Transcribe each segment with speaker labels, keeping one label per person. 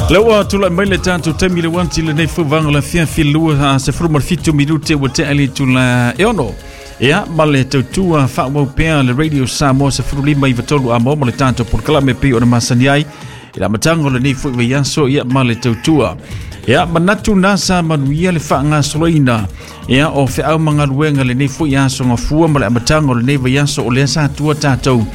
Speaker 1: Lea ua tulai mai le tatou taimi le uati lenei foi vaega o le afiafi 27 minute ua tea i le itula e 6. Ia, ma le tautua faaauau pea le Radio Samoa 15 i 3 a ma le tatou polokalame pei ona masani ai i le amataga o lenei foi vaiaso, ia ma le tautua. Ia, manatu na sa manuia le faagasoloina ia o feau ma galuega lenei foi aso gafua ma le amataga o lenei vaiaso, o lea sa tua tatou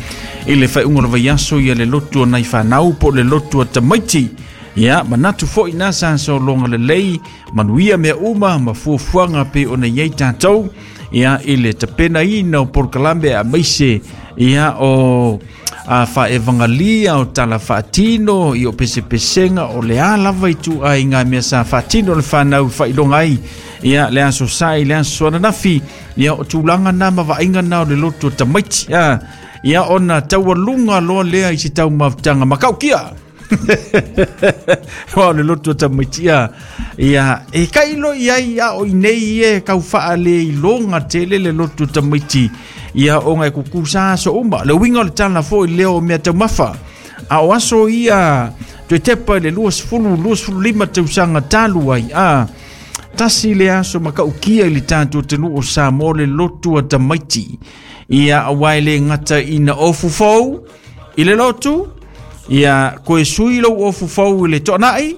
Speaker 1: i le faaiuga o le vaiaso ia le lotu o nai fanau po o le lotu o tamaiti. Ia, manatu foi na sa sologa lelei, manuia mea uma ma fuafuaga pei ona i ai tatou ia i le tapenaina o polokalame aemaise ia o a faevagalia o tala faatino i o pesepesega o le a lava i tuaiga mea sa faatino le fanau faailoga ai ia le aso Sa i le aso ananafi, ia o tulaga na ma vaaiga na o le lotu o tamaiti ia, ia ona taualuga loa lea i se taumafataga makaukia wa o le lotu o tamaiti ia, ia e kailo i ai a o i nei e kau faale iloga tele le lotu o tamaiti ia ona e kukusa aso uma le uiga o le tala foi lea o mea taumafa a o aso ia toe tepa i le 20 25 tausaga talu ai a tasi le aso makaukia i le tatou atunuu o Samoa le lotu a tamaiti ia aua e le gata ina ofu fou i le lotu ia koe sui lou ofu fou i le toanai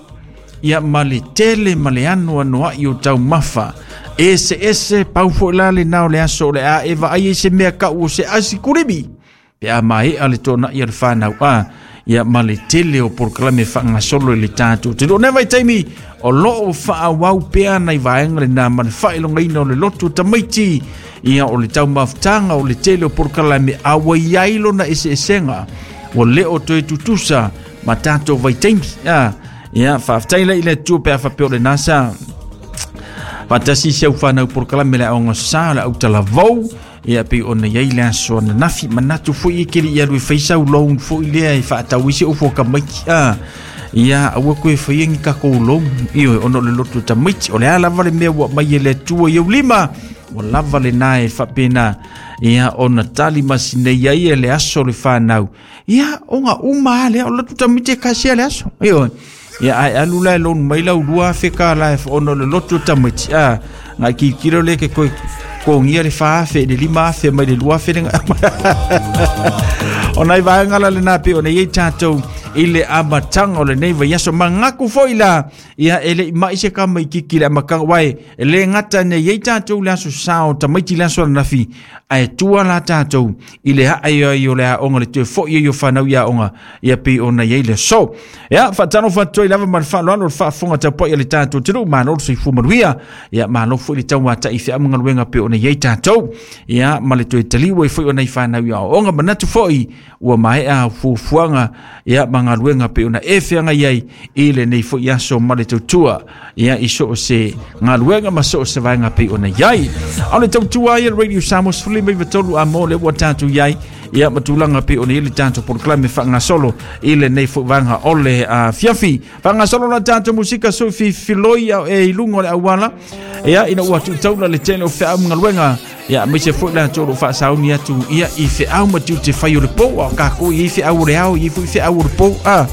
Speaker 1: ia ma le tele ma le anoanoai o taumafa ese ese pau foi la le na o le aso o le a e vaai ai se mea kau o se asi kulimi pe a maea le toanai a le fanau a ia ma le tele o polokalame faagasolo i le tatou te loo vai taimi o loo faaauau pea nai vaega lena ma le faailogaina o le lotu o tamaiti ia o le taumafutaga o le tele o polokalame a ua i ai lona eseesega ua le o toe tutusa ma tatou vaitaimi a ia faafetai la i le Atua pe a faapea o lena sa faatasi si au fanau polokalame le aoga sa o le autalavou ia pei ona iai le aso ananafi manatu foi e keli i alu e fai sau loan foi lea e faatau ai se ofu a tamaiti a ia aua koe faia ni takou loan ioe ona o le lotu o tamaiti o le a lava le mea ua aumai e le Atua i ou lima ua lava lena e faapena ia ona tali masinei ai e le aso o le fanau ia ona uma a lea o le lotu tamaiti e kasia le aso ioe ia ae alu la e loan mai lau 2000 tala e ona o le lotu o tamaiti a ngai kilokilo le ke koe totogia le 4000 i le 5000 mai le 2000 le o nai vaega la lena pei ona i ai tatou i le amataga o lenei vaiaso mangaku foi la ia e le i mai se kama i kiki le amataga wae e le gata nei i ai tatou le aso sa o tamaiti le aso ananafi ae tua la tatou i le ae ai o le aoga le toe foi ai o fanau i aoga ia pei ona i ai le aso. Ia, faatalofa atu ai lava ma le faaaloalo le faafofoga tapuai a le tatou atunuu, malo le soifua manuia. Ia, malo foi le tauatai i feau ma galuega pei ona i ai tatou. Ia, ma le toe taliu ai foi o nai fanau i aoaoga, manatu foi ua maea fuafuaga ia ma galuega pei ona e feagai ai i lenei foi aso ma le tautua ia i so o se galuega ma so o se vaega pei ona i ai. A o le tautua ai a le Radio Samoa 13 a mo le ua tatou i ai ia ma tulaga pei ona i ai le tatou polokalame faagasolo i lenei foi vaega o le afiafi. Faagasolo la tatou musika sui fifiloi e i luga o le auala ia ina ua tuutaula le tele o feau ma galuega ia aemaise foi latou o lo o faasauni atu ia i feau ma tiute fai o le pou a o kākou i ai feau o le ao i ai foi feau o le pou a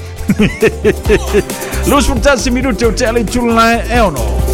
Speaker 1: 21 minute o te ale tula e ono.